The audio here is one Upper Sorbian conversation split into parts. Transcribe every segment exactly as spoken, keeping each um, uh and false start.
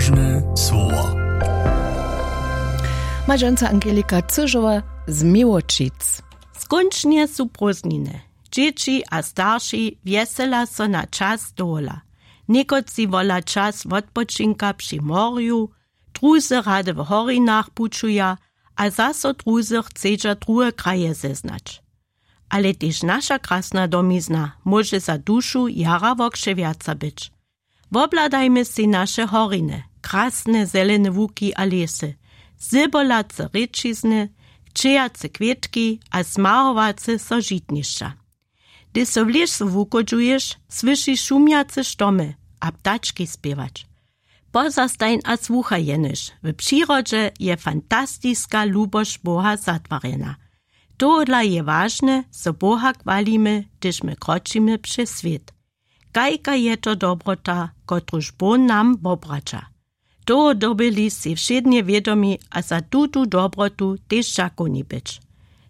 Łožne słowa. Mažonca Angelika Cyžowa z Miłočic. Skónčnje su prózdniny. Dźěći a starši wjesela so na čas dowola. Někotři wola čas wotpočinka při morju, druzy rady w horinach pućuja, a zaso druzy chcedźa druhe kraje zeznać. Ale tež naša krasna domizna móže za dušu jara wokřewjaca być. Wobhladajmy sej naše horiny, krasne zelene łuki a lěsy, zybolace rěčizny, kćejace kwětki a smahowace so žitnišća. Hdyž so w lěsu wuchodźuješ, słyšiš šumjace štomy a ptački spěwać. Pozastajń a słuchaj jenož, w přirodźe je fantastiska lubosć Boha zatwarjena. Tohodla je wažne, zo Boha chwalimy, hdyž my kročimy přez swět. Kajka je to dobrota, kotruž Bóh nam wobraća. Toho dyrbyli sej wšědnje wědomi a za tutu dobrotu tež dźakowni być.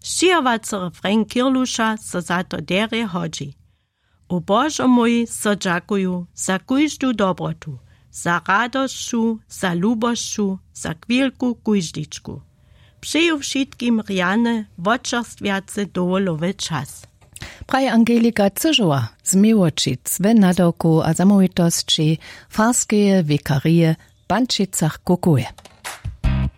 Sćěhowacy refrain Kirluša so za to derje hodźi. O Božo mój, so dźakuju za kóždu dobrotu, za radosću, za lubosću, za chwilku kóždičku. Přeju wšitkim rjany, wočerstwjacy dowolowy čas. Praji Angelika Cyžowa z Miłočic we nadawku a zamołwitosći farskeje wikarije w Pančicach-Kukowej.